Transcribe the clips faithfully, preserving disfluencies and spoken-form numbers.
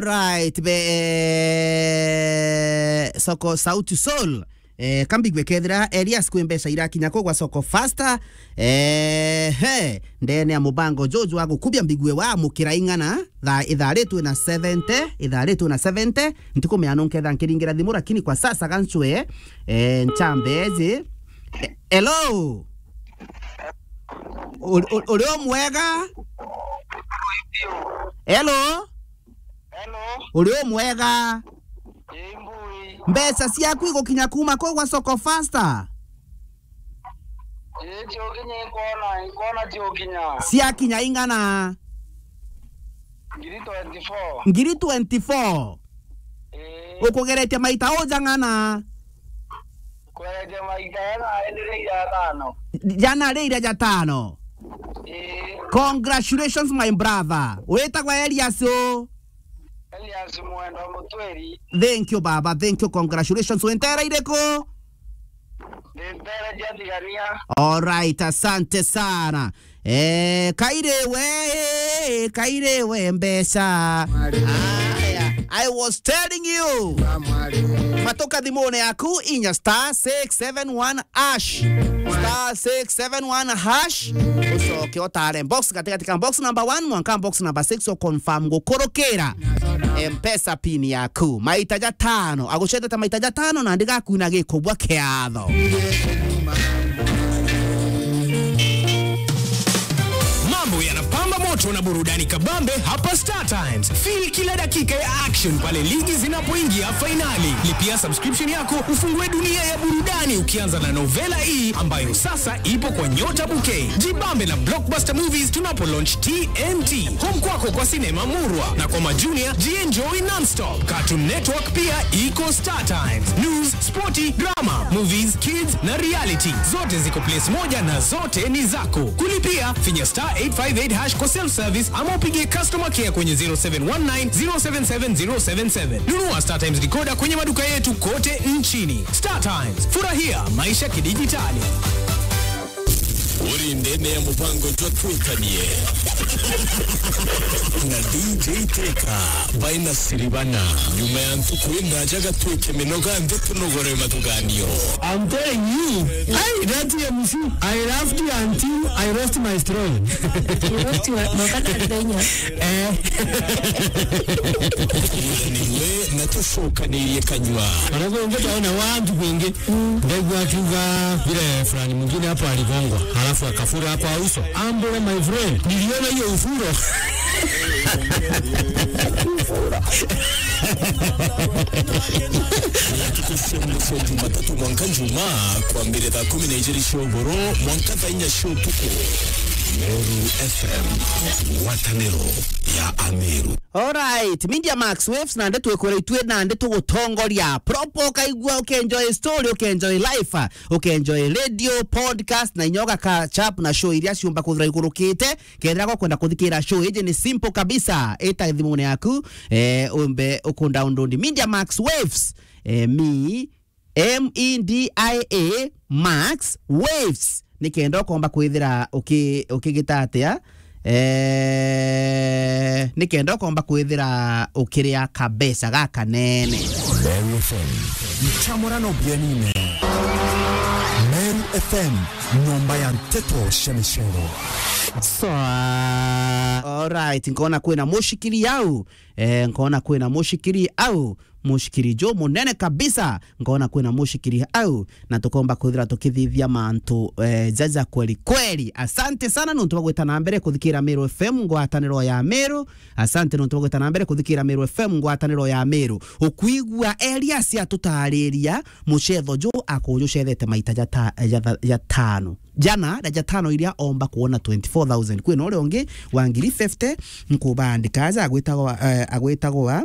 Right, be, eh, Soko Sauti Sol. Eh, kambigue kethira Elias kwi mbeca irakinya kuu gwa Soko Faster. Eh, he, ndene ya mubango juju wa gukubia mbigue wa mukira ing'ana, thaa itharitwe na seventy, itharitwe na seventy, ntikumenya nunketha nkiringira thimu, lakini kwa sasa gancwe, eh, nchambe eji. Eh, hello? Uri, uri, uri o mwega? Hello? Hello? Uri o mwega? Ii, mbui. Mbeca ciaku igukinya kuma kuu gwa Soko Faster? Ii, ciokinya, ikwona, ikwona ciokinya. Ciakinya ing'ana? Ngiri twenty-four. Ngiri twenty-four? Ii. Ukugeretie maita uja ng'ana? Kwereje maita jana iri ira jatano. Jana ri ira jatano. Ii. Congratulations, my brother. Witagwa Elias u? Elias Mwenda Mutwiri. Thank you, baba. Thank you. Congratulations. Wintere iriku? Wintere jia Tigania. All right, asante sana. Eh, kaire we, kaire we mbeca. Aya, I was telling you. Matoka thimune yaku, inya star six seven one hash. Star six seven one hash. Ucoke utare box katikati ka box number one mwanka box number six, o confirm gukurukira M-Pesa pin yaku. Maita jatano. Agucetete maita jatano na ndigakwina gikubwa kiatho. Mambo yanapamba moto na burudani kabambe hapa Star Times. Feel kila dakika ya action pale ligi zinapoingia fainali. Lipia subscription yako ufungue dunia ya burudani ukianza na novela hii ambayo sasa ipo kwa Nyota Bouquet. Jibambe na blockbuster movies tunapo launch T N T. Home kwako kwa sinema murwa na kwa majunia, jienjoy non-stop. Cartoon Network pia iko Star Times. News, sporti, drama, movies, kids na reality. Zote ziko place moja na zote ni zako. Kulipia, finya star eight five eight hash kwa self service ama upigie customer care kwenye zero seven one nine zero seven seven zero seven seven. Nunua Star Times decoder kwenye maduka yetu kote nchini. Star Times, furahia maisha kidijitali. Uri ndene ya mubango jwa Twikanie na D J Teka by Nasiribana. Nyuma ya ntuku indaja gatwike minoga nthi tunogore mathuganio. I'm telling you, hey, that M C, I laughed until I lost my strong. You lost your, no, kana ndenya. Eh. Niwe na tucokanirie kanywa. Wanakuongea utaona watu wengi. Ndegu akiuga vile fulani mwingine hapo aligongwa, halafu akafura kwa uso. Ambule, my friend, niliona hiyo ufuro. Tukushembuso Jumatatu mwanka Juma, kwambire thaa kumi na ijiri cia ugoro mwanka thaa inya cia utuku. Meru F M, ngwataniro ya Ameru. Alright, Media Max Waves, nandi twikwira itwi nandi tugutongoria. Proper ukaigua, ukenjoy story, ukenjoy life, ukenjoy radio, podcast, na inya uga catch up na show iria ciumba kwithira igurukite. Kethira gwa kwenda kuthikira show iji ni simple kabisa. Ita thimune yaku, eh, umbe uku download Media Max Waves, eh, me M E D I A Max Waves, nikenda ukomba kwithira uki-, ukigita atia? Eh, nikenda ukomba kwithira ukiria kabeca gakanene. Meru F M, nchamurano bienine. Meru F M, nyomba ya nteto cia micero. Sawa. Alright, nkona kwina mushikiri au. Eh, nkona kwina mushikiri au. Mushikiri jo munene kabisa, nkona kwina mushikiri au, na tukomba kwithira tukithithia mantu, eh, jaja kweli kweli. Asante sana nontu bwa gwita na mbere kuthikira Meru F M, ngwataniro ya Meru. Asante nontu bwa gwita na mbere kuthikira Meru F M, ngwataniro ya Meru. Ukwigua Elias atutariria mucetho ju akujucethete maita jata-, jatha-, jatano. Jana na jatano iria omba kuona twenty-four thousand. Kwina uria ungi wa ngiri fifty, nkubandika aja agwitagwa, eh, agwitagwa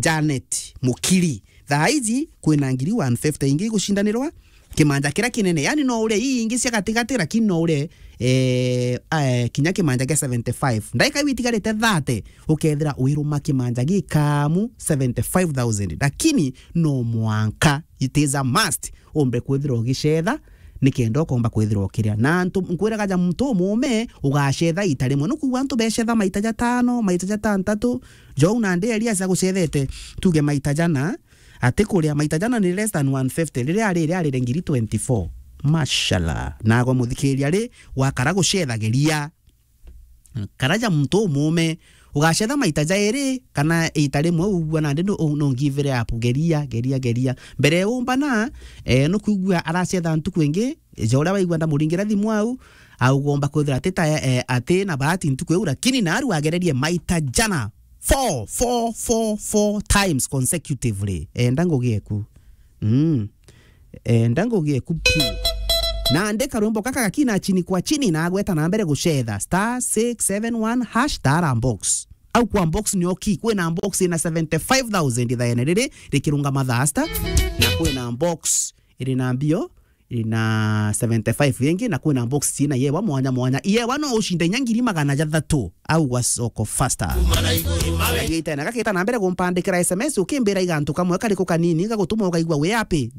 Janet Mukiri. Thaa iji kwina ngiri one fifty ingi igucindanirwa kimanja kiria kinene. Yani no urie ii ingi cia gatigati, lakini no urie, eh, eh, kinya kimanja kia seventy-five. Ndaika iu itigarite thirty, ukethira wiruma kimanja gikamu seventy-five thousand. Lakini no mwanka, it is a must, umbe kwithira ugicetha nikenda ukomba kwithirwa ukiria. Na antu, nkwiraga ja muntu umuume, ugacetha ita rimwe. Nukwigua antu becetha maita jatano, maita jatantatu, jou nandi Elias agucethete, tuge maita jana, ati kuria maita jana ni less than one fifty, riria ari, riria arire ngiri twenty-four. Mashallah. Nagwe muthikiria ri, wakara gucethagiria. Kara ja muntu umuume, ugacetha maita jairi kana ita rimwe, ugua nandi no, no give it up, geria, geria, geria. Mbere umbana, eh, nukwigua aracetha ntuku ingi, ja uria waigua ndamuringira thimu au, augomba kwithira ati ta, eh, ati na bahati ntuku iu, lakini naru agererie maita jana. Four, four, four, four times consecutively. Enda ngugi eku. Mm. Enda ngugi eku piu. Na andika rwimbo kaka gakina chini kwa chini na agweta na mbere gucetha star six seven one hash tara box. Au kwa box ni oki, kwina box ina seventy-five thousand ithaene riri rikirunga mathasta, na kwina box iri na mbio, iri na seventy-five ingi, na kwina box cina yewa mwanya mwanya. Yewa no ucinde inya ngiri magana jathatu au gwa soko faster. Itena gakita na mbere gumpandikira S M S ukimbira igantu kamwe kariku kanini gagutuma ukaigua wi happy.